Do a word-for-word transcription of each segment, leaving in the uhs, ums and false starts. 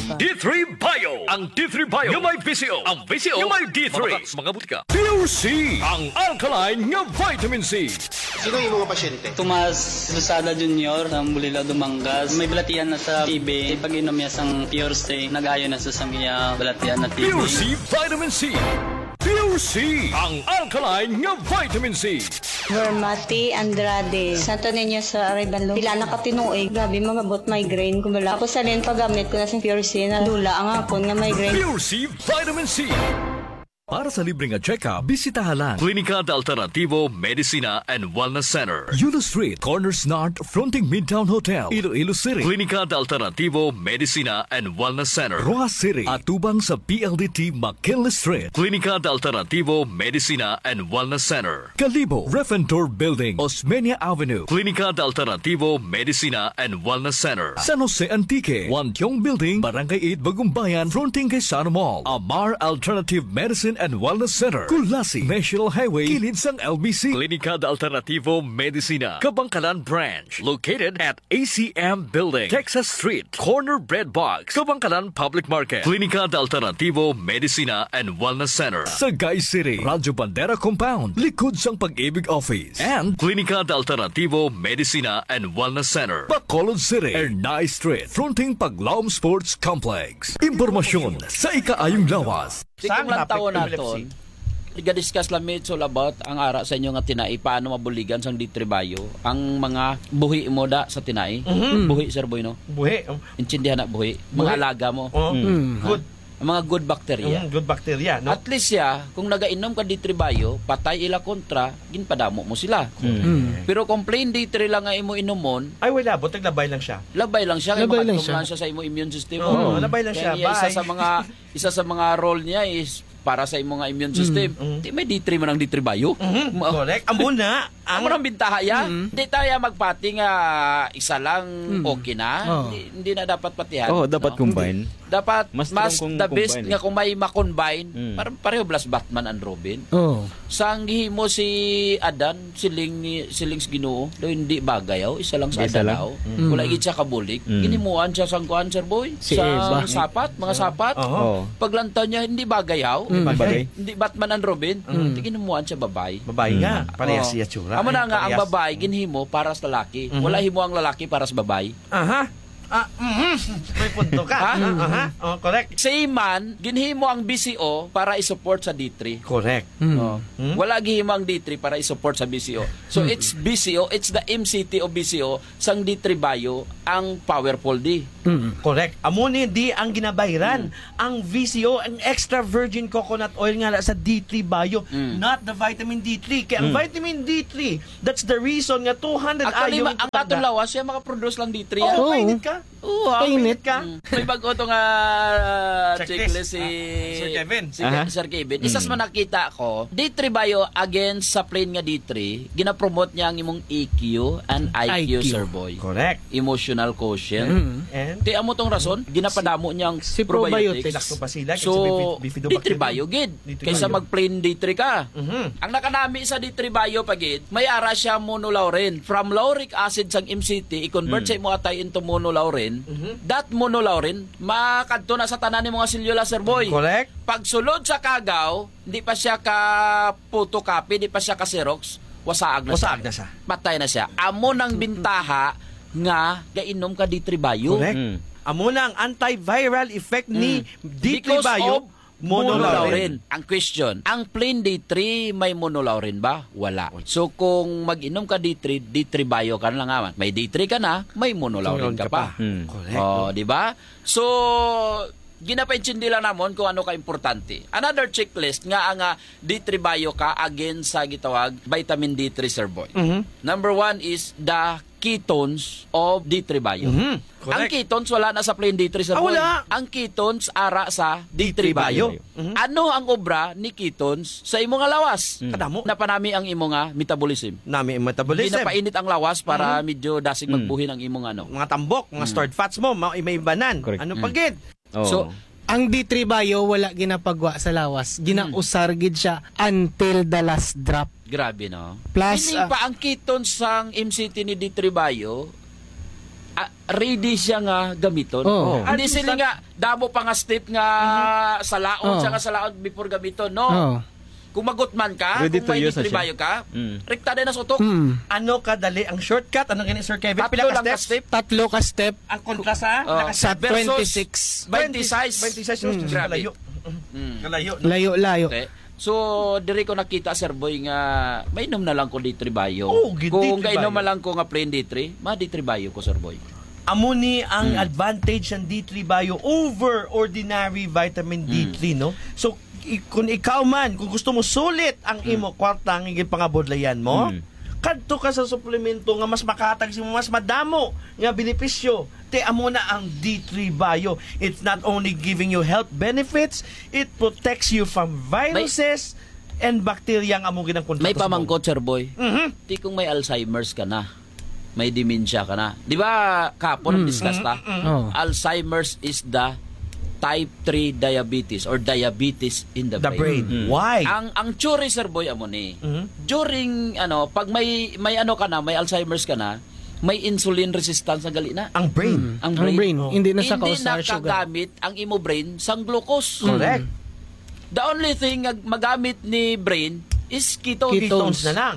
D three Bio. Ang D three Bio nga may V C O. Ang V C O nga may D three. Mga, mga butika. Pure C, ang alkaline nga vitamin C. Sino ang imong pasyente? Tomas Losada Junior, ang Bulila, Dumangas. May balatian na sa T B. Pag-inom niya sang Pure C, nag-ayo na sa sang iya balatian na T B. Pure C Vitamin C. Pure C, ang alkaline nga vitamin C. Vermati Andrade, Santo Niño sa Arevalo. Pila na ka tinuig, grabe, mangabot migraine ko bala. Ako sa rin paggamit ko na sa Pure C, nadula ang akon nga migraine. Pure C Vitamin C. Para sa libre nga check-up, bisitaha lang Klinika de Alternativo Medicina and Wellness Center, Yulo Street, Corners North, fronting Midtown Hotel, Iloilo City. Klinika de Alternativo Medicina and Wellness Center, Roxas City, atubang sa P L D T McKinley Street. Klinika de Alternativo Medicina and Wellness Center, Kalibo, Refentor Building, Osmeña Avenue. Klinika de Alternativo Medicina and Wellness Center, San Jose Antique, Wantiong Building, Barangay eight, Bagumbayan, fronting kay Sano Mall. Amar Alternative Medicine and Wellness Center, Culasi, National Highway, kilid sang L B C. Klinika de Alternativo Medicina, Kabangkalan Branch, located at A C M Building, Texas Street, corner Bread Box, Kabangkalan Public Market. Klinika de Alternativo Medicina and Wellness Center, Sagay City, Radyo Bandera Compound, likod sang Pag-ibig Office. And Klinika de Alternativo Medicina and Wellness Center, Bacolod City, Ernai Street, fronting Paglaom Sports Complex. Impormasyon sa ikaayong lawas. Sa Tikong lang topic, taon Philip naton, C. Iga-discuss lang mi, it's all about ang ara sa inyo nga tinai, paano mabuligan sang D three Bio ang mga buhi mo da sa tinai. Mhm. Buhi, Sir Boy, no? Buhi, um. Intindihan na buhi. Buhi. Mga alaga mo. Oh. Mm. Good. Ang mga good bacteria. Mm, good bacteria, no? At least siya, kung nagainom ka D three Bio, patay ila kontra, ginpadamo mo sila. Mm. Mm. Pero kung plain D three lang nga imo inumon, ay, wala, but naglabay lang siya. Labay lang siya, kay Labay lang makadto siya. lang siya sa imo immune system. Oo, Mm. labay lang Kaya siya. niya, isa Bye. sa mga, isa sa mga role niya is para sa imo nga immune Mm. system. Mm. Di may D three man ang D three Bio. Mhm, Ma- correct. Amo na. Ang Amo nang bintaha ya. Mm. Di tayo magpati nga isa lang Mm. okay na. Oh. Hindi, hindi na dapat patihan, Oh, dapat no? combine. Dapat Mas mas strong kung the best combine, nga eh. kung may ma-combine, Mm. parang pareho blas Batman and Robin. Oh. Sang gihimo si Adan, siling ni, siling sa Ginoo, daw hindi bagay, oh, isa lang sa Isa Adan, lang? oh. Mm. Wala gid siya kabulig. Mm. Ginimuan siya sang kuan, Sir Boy? Si Sang Eva. sapat, mga Sa sapat. Oo. Oh. Paglantaw niya, hindi bagay, oh. Mm. Bagay. Hindi Batman and Robin. Mm. Di ginimuan siya babay. Babay nga. Mm. Parehas Oh. siya tsura. Amo na Ay, nga, ang parehas. babay, ginhimo para sa lalaki. Mhm. Wala himo ang lalaki para sa babay. Aha. Ah, mhm. May punto ka. Ha? Ah, aha. Oh, correct. Sa iman, ginhimo ang B C O para i-support sa D three. Correct. Mm. Oh. Hmm? Wala gihimo ang D three para i-support sa B C O. So, Mm. it's B C O, it's the M C T of B C O, sang D three Bio, ang powerful di. Mm. Correct. Amo ni di ang ginabayran. Mm. Ang V C O, ang extra virgin coconut oil nga na sa D three Bio, Mm. not the vitamin D three. Kaya ang Mm. vitamin D three, that's the reason nga two hundred Actually, ion ma-, ang katong lawas, siya makaproduce lang D three, Oo, ah. Oo. Painit ka? Oo, ah. Painit ka? Mm. May bago to nga, ah, Checklist. checklist si Ah, Sir Kevin. si Aha. Sir Kevin. Isa sa Mm. mga nakita ko, D three Bio against sa plain nga D three, ginapromote niya ang imong E Q and I Q, I Q. Sir Boy. Correct. Emotional quotient. Mm. And Ti amo tong rason, ginapadamo niya ang Si probiotics. probiotics. Lactobacillus, So, si bifid-, bifidobacterium. D three Bio gid. D three Kaysa Bio. mag plain D three ka. Mhm. Ang nakanami sa D three Bio pa gid, may ara siya monolaurin. From lauric acid sang M C T, i-convert Mm. sa imo atay into monolaurin. Mhm. That monolaurin, makadto na sa tanan ni mga selula, Sir Boy. Correct. Pagsulod sa kagaw, hindi pa siya ka photocopy, hindi pa siya ka Xerox, wasaag na Wasaag siya. na siya. Patay na siya. Amo nang bintaha nga gainom ka D three Bio. Correct. Mm. Amo na ang antiviral effect ni Mm. D three Because Bio, of monolaurin. monolaurin. Ang question, ang plain D three may monolaurin ba? Wala. Wala. So, kung mag-inom ka D three, D three Bio ka na lang naman. May D three ka na, may monolaurin Monolaurin ka ka pa. pa. Hmm. Correct. Oh, di ba? So, ginapaintindi lang namon kung ano ka importante. Another checklist nga ang, ah, D three Bio ka against sa gitawag vitamin D three, Sir Boy. Mhm. Number one is the ketones of D three Bio. Mhm. Ang Correct. ketones wala na sa plain D three, Sir Ah, Boy. wala. Ang ketones ara sa D three D three Bio. Bio. Mhm. Ano ang obra ni ketones sa imo nga lawas? Mm. Kadamo. Napanami ang imo nga metabolism. Nami ang metabolism. Ginapainit ang lawas para Mhm. medyo dasig Mm. magbuhin ang imo nga ano. Mga tambok, mga Mm. stored fats mo, ma-, may ibanan. Correct. Ano pa Mm. gid? Oo. So, Ang D three Bio wala ginapagwa sa lawas. Ginausar Mm. gid siya until the last drop. Grabe, no? Plus, Meaning ah, pa, ang ketones sang M C T ni D three Bio, ah, ready siya nga gamiton. Oh. Hindi At sila least nga damo pa nga step nga salaod Oh. siya nga salaod before gamiton, no? Oh. Kung magutman ka, Ready kung to may use na D three siya. Bio ka, Mm. rekta din na sa utok. Mm. Ano kadali ang shortcut? Ano gani, Sir Kevin? Tatlo Pila ka lang ka steps? step. Tatlo ka step. Ang kontra sa Oh. naka- Sa Versus twenty-six. twenty-six. Twenty-six, Mm. Grabe. kalayo. Mm. Kalayo, no? Layo-layo. Okay. So, diri ko nakita, Sir Boy, nga mainom na lang ko D three Bio. Oh, gid, Kung D three kainom Bio. na lang ko nga plain D three, ma D three Bio ko, Sir Boy. Amo ni ang Mm. advantage ng D three Bio over ordinary vitamin Mm. D three, no? So, i-, kung ikaw man, kung gusto mo sulit ang Mm. imo kwarta nga ginpangabudlayan mo, Mm. kadto ka sa suplemento nga mas makahatag sa imo mas madamo nga benepisyo. Te, amo na ang D three Bio. It's not only giving you health benefits, it protects you from May viruses and bacteria ang amo ginang kontra May sa subong. pamangkot, Sir Boy. Mhm. Ti kung may Alzheimer's ka na, may dementia ka na. Di ba, kapon Mm. discuss ta? Mm, mm. Oh. Alzheimer's is the type three diabetes or diabetes in the The brain. brain. Mm. Why? Ang, ang theory, Sir Boy, amo ni, Mhm. during, ano, pag may, may ano ka na, may Alzheimer's ka na, may insulin resistance ang gali na. Ang brain. Mm. Ang Ang brain. brain. Oh. Hindi na sa Hindi kausar na sugar. kagamit ang imo brain sang glucose. Correct. Mm. The only thing nga magamit ni brain is ketones. Ketones. Ketones na lang.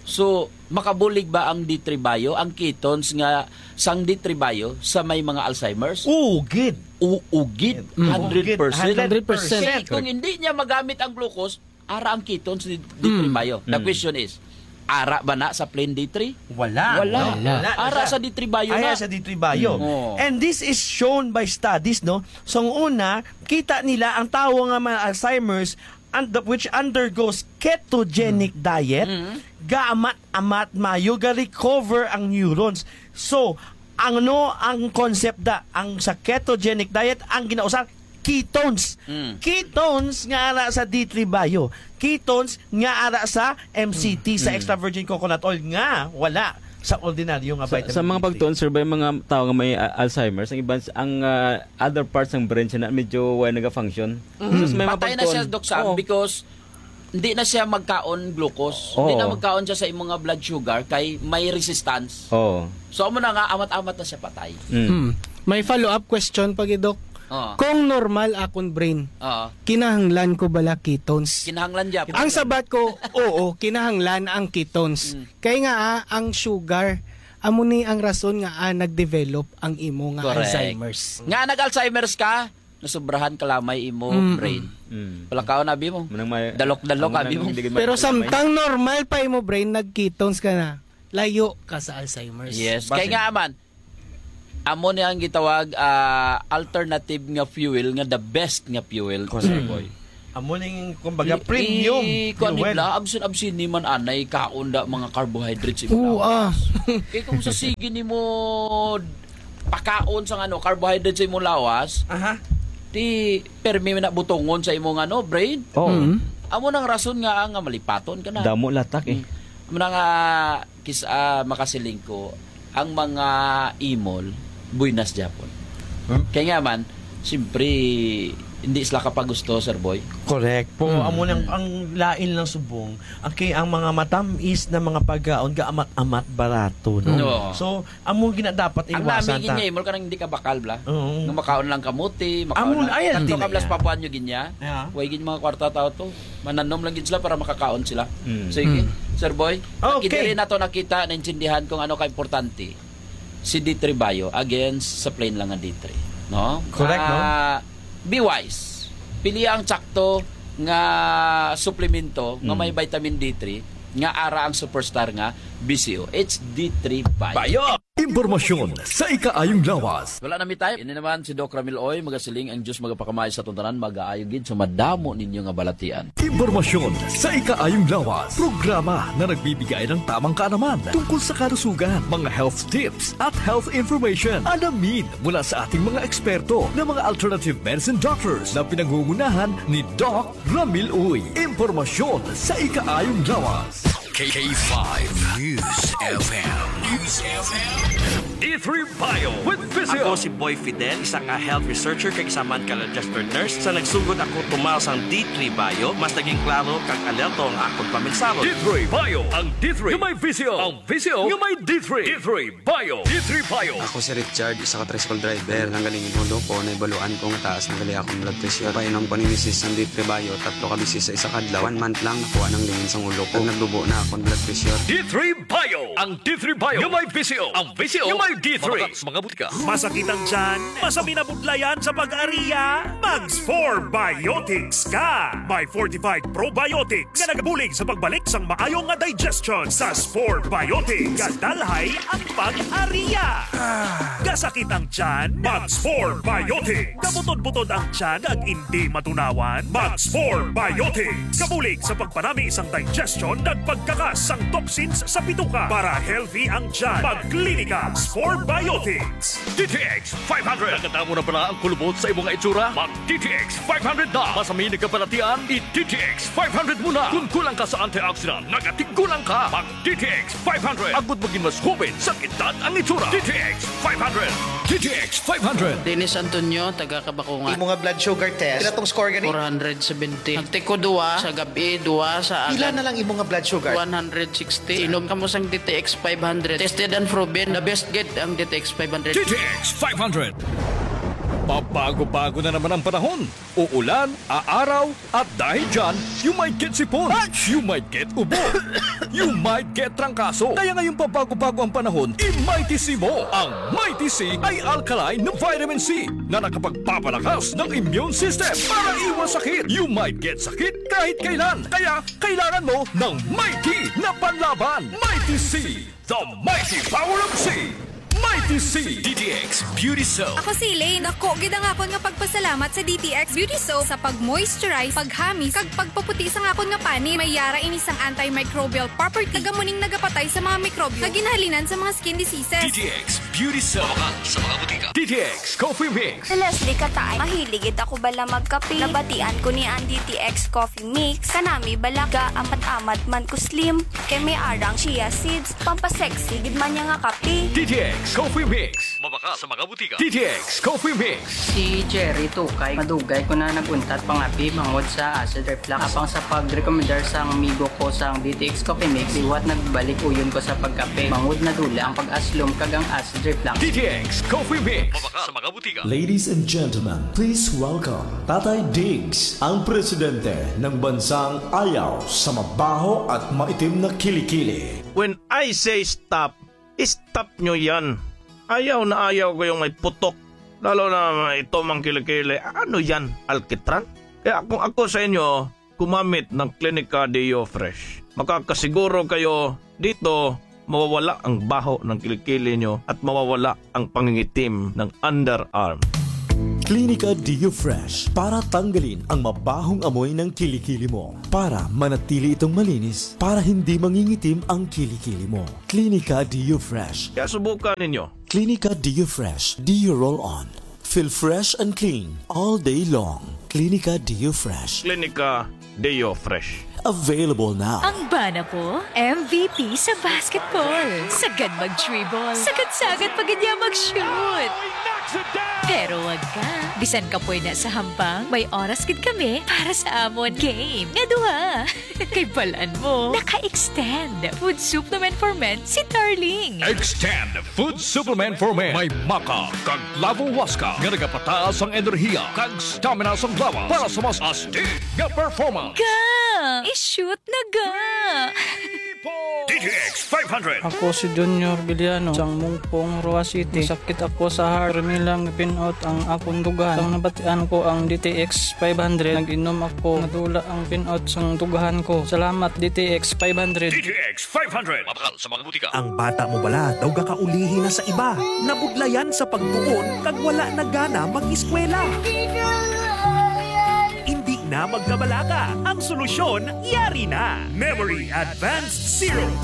So, makabulig ba ang D three Bio, ang ketones nga sang D three Bio sa may mga Alzheimer's? Oo, gid. Oo, gid. Mm. Hundred percent. Hundred percent. Kay kung hindi niya magamit ang glucose, ara ang ketones ni D three Mm. Bio. The Mm. question is, ara ba na sa plain D three? Wala. Wala. Wala. Wala na Ara siya. sa D three Bio Ara na. sa D three Bio. Mm. Oo. And this is shown by studies, no? So, ang una, kita nila ang tawo nga may Alzheimer's and the, which undergoes ketogenic Mm. diet, Mm. gaamat-amat mayo ga-recover ang neurons. So, ano ang concept da? Ang sa ketogenic diet, ang ginausar, ketones. Mm. Ketones nga ara sa D three Bio. Ketones nga ara sa M C T, sa Mm. extra virgin coconut oil nga wala sa ordinaryo nga Sa, vitamin sa mga D three. pagtuon, sir, ba yung mga tao nga may, ah, Alzheimer's, ang iban, ang, ah, other parts ng brain siya na medyo wala nag-function. Mm. Tapos may mga Patay na siya, pagtuon. Doc Sam, Oo. because hindi na siya magkaon glucose. Hindi Oo. na magkaon siya sa imong nga blood sugar kay may resistance. Oo. So, amo na nga, amat-amat na siya patay. Mm. Hmm. May follow-up question pa gid, Doc. Oo. Kung normal akong brain, Oo. kinahanglan ko bala ketones? Kinahanglan gyapon. Ang sabat ko, oo, kinahanglan ang ketones. Mm. Kay nga, ah, ang sugar, amo ni ang rason nga, ah, nag-develop ang imo nga Correct. Alzheimer's. Nga nag-Alzheimer's ka, nasubrahan ka lamay imo Mm. brain. Mm. Palakaw na, abi mo. Manang may Dalok-dalok, ang abi mo. manang hindi Pero magkakamay. samtang normal pa imo brain, nag-ketones ka na, layo ka sa Alzheimer's. Yes. Basin. Kaya nga, man, amo ni ang gitawag, ah, alternative nga fuel, nga the best nga fuel, Correct. sir boy. Amo ning, kumbaga, I-, premium i-, kuwan ni fuel. Bla, absin-absin ni man anay kaon da mga carbohydrates sa imong Oo, lawas. ah. Kay kung sa sige nimo pakaon sa ano, carbohydrates sa imong lawas, Aha. ti permi na butongon sa imong ano, brain. Oo. Mm. Amo nang rason nga, nga malipaton ka na. Damo latak eh. Mm. Amo na nga, kis-, ah, makasiling ko, ang mga imol, buinas gyapon. Hmm? Kaya nga man, siyempre, hindi sila kapagusto, Sir Boy. Correct po. Hmm. Amo nang, ang lain lang subong, ang kay, ang mga matamis na mga pagkaon, gaamat-amat barato, no? No. So, amo ang ginadapat Ang iwasan nami ta. Nga imol ka nang hindi ka bakal, bla. Oo. Nga makaon lang kamuti, makaon Amo, lang, ay, ang tanto ka, bla, tinaya. Sa Papuan New Guinea. Yeah. Way gid mga kwarta tao to. Mananom lang gid sila para makakaon sila. Mm. Sige, Mm. Sir Boy, Okay. Kita rin nato nakita, naintindihan kung ano ka-importante si D three Bio against sa plain lang nga D three, no? Correct, no? Ah, be wise. Pili ang tsakto nga suplemento nga Mm. may vitamin D three nga ara ang superstar nga B C O H D three Bio. Bio! Impormasyon sa ikaayong lawas. Wala na mi time. Ini naman si Doc Ramil Oy, magasiling ang Diyos magapakamay sa atong tanan, magaayo gid sa madamo ninyo nga balatian. Impormasyon sa ikaayong lawas. Programa na nagbibigay ng tamang kaalaman tungkol sa kalusugan, mga health tips at health information. Alamin mula sa ating mga eksperto na mga alternative medicine doctors na pinangungunahan ni Doc Ramil Uy. Impormasyon sa ikaayong lawas. K five News F M. News F M. D three Bio with Physio. Ako si Boy Fidel, isa ka health researcher kag isa man ka registered nurse sa nagsugod ako tumaw sang D three Bio. Mas naging klaro kag alerto ang akon paminsahon. D three Bio, ang D three nga may visyo, ang visyo nga may D three. D three Bio. D three Bio. Ako si Richard, isa ka tricycle driver. Nanggaling ang ulo ko, naibaluan ko nga taas na gali akong blood pressure. Painom ko ni misis sang D three Bio, tatlo ka beses sa isa ka adlaw. One month lang, nakuha nang lingin sang ulo ko. Kag nagdubo na akong blood pressure. D three Bio. Ang D three Bio nga may visyo. Ang visyo nga may D three. Mabakal sa mga butika. Masakit ang tiyan? Masami na budlayan sa pag-ariya? Mag Spore Biotics ka! May fortified probiotics nga nagabulig sa pagbalik sang maayo nga digestion. Sa Spore Biotics, gadalhay ang pag-ariya. Gasakit ang tiyan? Mag Spore Biotics. Gabutod-butod ang tiyan kag indi matunawan? Mag Spore Biotics. Gabulig sa pagpanami sang digestion kag pagkakas sang toxins sa bituka para healthy ang tiyan. Mag Klinika Spore Biotics. D T X five hundred. Nakadamo na bala ang kulubot sa imo nga itsura? Mag D T X five hundred na. Masami na ka balatian? I D T X five hundred mo na. Kung kulang ka sa antioxidant, nagatigulang ka. Mag D T X five hundred. Agud magin mas hoben sa edad ang itsura. D T X five hundred. D T X five hundred. Dennis Antonio, taga Kabakungan. Imo nga blood sugar test, pila tong score gani? Four hundred seventy. Nagtiko duwa sa gabi, duwa sa Pila agad. Na lang imo nga blood sugar? One hundred sixty. Inom kamo sang D T X five hundred. Tested and proven. The best gid ang D T X five hundred. D T X five hundred. Pabago-bago na naman ang panahon. Uulan, aaraw, at dahil dyan, you might get sipon. You might get ubo. You might get trangkaso. Kaya ngayong pabago-bago ang panahon, i-Mighty C mo. Ang Mighty C ay alkaline na vitamin C na nakapagpapalakas ng immune system para iwas sakit. You might get sakit kahit kailan. Kaya kailangan mo ng Mighty na panlaban. Mighty C, the mighty power of C. Mighty C. D T X Beauty Soap. Ako si Elaine. Dako gid ang akon nga pagpasalamat sa D T X Beauty Soap sa pag-moisturize, paghamis, kag pagpaputi sang akon nga panit. May yara ini sang antimicrobial property, kag amo ning nagapatay sa mga mikrobyo nga ginahalinan sa mga skin diseases. D T X Beauty Soap. Mabakal sa mga butika. D T X Coffee Mix. Si Leslie Katay, mahilig gid ako bala magkape. Nabatian ko ni ang D T X Coffee Mix. Kanami bala ga amat-amat man ko slim. Kay may arang chia seeds. Pampasexy gid man niya nga kape. D T X Coffee Mix. Mabakal sa mga butika. D T X Coffee Mix. Si Jerry Tukay, madugay ko na nag-untat pangape bangod sa acid reflux. Apang sa pagrekomendar sang amigo ko sang D T X Coffee Mix, liwat nagbalik uyon ko sa pagkape bangod nadula ang pag-aslom kag ang acid reflux. D T X Coffee Mix. Mabakal sa mga butika. Ladies and gentlemen, please welcome Tatay Diggs, ang presidente ng bansang ayaw sa mabaho at maitim na kilikili. When I say stop, stop nyo yan. Ayaw na ayaw ko yung may putok. Lalo na ito mang kilikili. Ano yan? Alkitran? Kaya kung ako sa inyo, gumamit ng Clinica Deo Fresh. Makakasiguro kayo dito mawawala ang baho ng kilikili nyo at mawawala ang pangingitim ng underarm. Clinica Deo Fresh para tanggalin ang mabahong amoy ng kilikili mo. Para manatili itong malinis, para hindi mangingitim ang kilikili mo. Clinica Deo Fresh. Kaya subukan ninyo. Clinica Deo Fresh Deo Roll On. Feel fresh and clean all day long. Clinica Deo Fresh. Clinica Deo Fresh. Available now. Ang bana ko, M V P sa basketball. Sagad mag-dribble. Sagad-sagad pa gid niya mag-shoot. Pero wag ka. Bisan kapoy na sa hampang, may oras gid kami para sa amon game nga duha. Kay balan mo, naka-extend Food Supplement for Men si Darling. Extend Food Supplement for Men. May maca kag Lavo Huasca nga nagapataas ang enerhiya kag stamina sang lawas para sa mas astig nga performance. Ga! I-shoot na ga! D T X five hundred. Ako si Junior Villano, sang Mungpong, Roa City. Masakit ako sa heart. Pero nilang pin-out ang akong dughan. Sang nabatian ko ang D T X five hundred, nag-inom ako. Nadula ang pin-out sang dughan ko. Salamat, D T X five hundred. D T X five hundred. Mabakal sa mga butika. Ang bata mo bala daw gakaulihi na sa iba, nabudlayan sa pagtuon, kag wala na gana mag-eskwela? Indi na magkabalaka. Ang solusyon, yari na. Memory Advanced Syrup P